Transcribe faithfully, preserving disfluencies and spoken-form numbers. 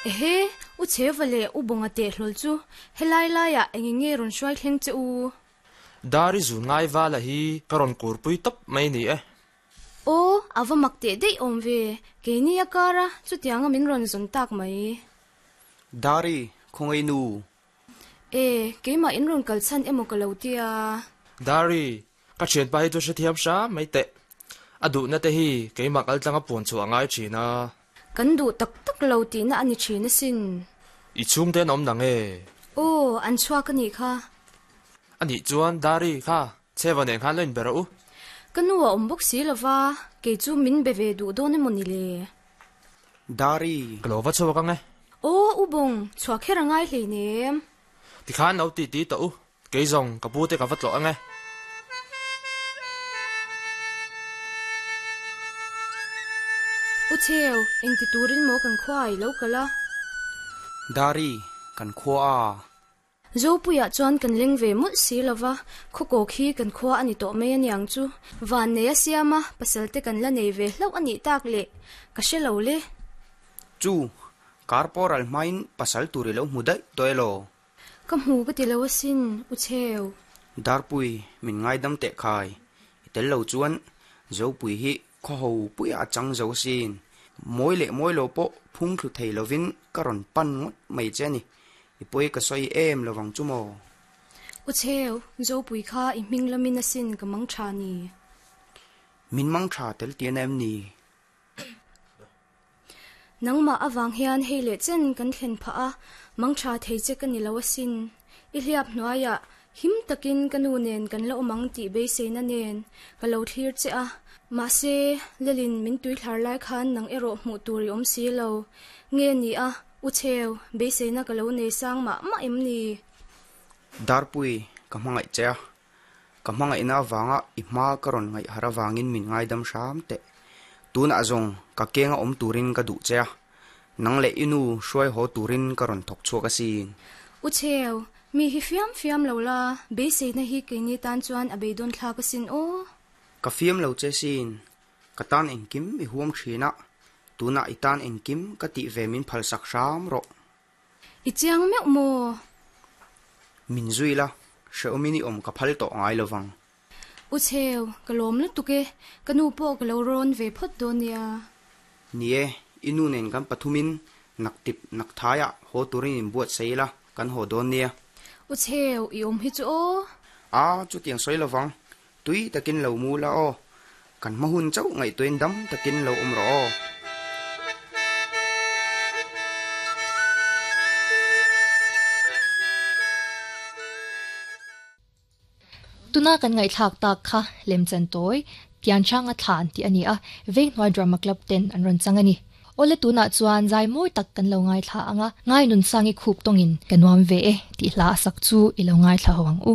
Ehe, u Chheuva leh u Bawnga teh hlawl chu helai laiah eng nge rawn hruai thleng che u? Dari zun ngai vala hi ka rawn kurpui tawp mai ni e. Aw, a va mak teh daih awm ve, keini a kar a, chutianga min rawn zawn tak mai. Dari, khawngaih nu. E, keimah in rawn kal chhan emaw ka lo tia. Dari, ka thianpa hi chu hrethiam hram mai teh. A duhna te hi keimah kal tlanga puan chhuah a ngai thin a. Kan duh tak tak lo tihna a ni thin asin. I chhungte an awm nang e. Aw, an chhuak a nih kha. A nih chuan Dari kha Chheva nen khan lo inbe rawh u. Ka nu a awm bawk si lova, kei chu min be ve duh dawn emaw ni le? Dari. Ka lo va chhuak ang e. Aw, u Bawng, chhuah kher a ngai hleinem. Tikhan lo ti ti tawh u, kei zawng ka pu te ka va tlawh ang e. U Chheu, engti turin maw kan khua i lo kal a? Dari, kan khua a. Zopuiah chuan kan leng ve mawlh si lo va, khawkaw khi kan khua a ni tawh mai a niang chu. Van nei a siam a, pasal te kan la nei ve hlauh a nih tak le, ka hre lo le. Chu, kar pawh ral hmain pasal tur i lo hmu daih tawh elaw? Ka hmu ka ti lo asin, U Chheu. Darpui, min ngaidam teh khai. I tel lo chuan Zopui hi khaw ho puiah a chang zo asin. Mawi leh mawi lo pawh phung thlu thei lovin ka rawn pan ngawt mai che a ni. I pawi ka sawi em lovang chu maw? U Chheu, Zopui kha i hming lamin asin ka mang tha ni. Min mang tha tel tian em ni? Nangmah avang hian hei leh chen kan thlen phah a, mang tha thei che ka ni lo asin. I hliap hnuaiah him takin ka nu nen kan la awm ang tih beiseina nen ka lo thlir che a. Mahse, Lelin min tui thlar lai khan nang erawh hmuh tur i awm si lo. Nge ni a, U Chheu, beiseina ka lo nei sang mah mah em ni? Darpui, ka hmangaih che a. Ka hmangaihna avanga i hma ka rawn ngaih harh avangin min ngaidam hram teh. Tunah zawng ka kenga awm turin ka duh che a, nang leh i nu hruai haw turin ka rawn thawk chhuak asin. U Chheu, mi hi fiam fiam lo la, beiseina hi keini tan chuan a beidawn thlak asin aw. Ka fiam lo che sin, ka tan engkim i huam thin a, tunah i tan engkim ka tih ve min phalsak hram rawh. I chiang meuh maw? Min zui la, hrehawmin i awm ka phal tawh ngai lo vang. U Chheu, ka lawm lutuk e, ka nu pawh ka lo rawn ve phawt dawn nia. Ni e, i nu nen kan pathumin nak tip nak thaiah haw turin in buatsaih ila, kan haw dawn nia. U Chheu, i awm hi chu aw. A, chutiang sawi lo vang, tui takin lo mu la aw. Kan hma hun chauh ngaihtuahin dam takin lo awm rawh aw. Tuna kan ngaihthlak tak kha lemchan tawi Tianchanga thlan tih a ni a, Venghnuai Drama Club ten an rawn chang a ni. Awle tunah chuan zai mawi tak kan lo ngaithla ang a, Ngai Nunsangi khup tawngin ka nuam ve e tih hla a sak chu i lo ngaithla ho ang u.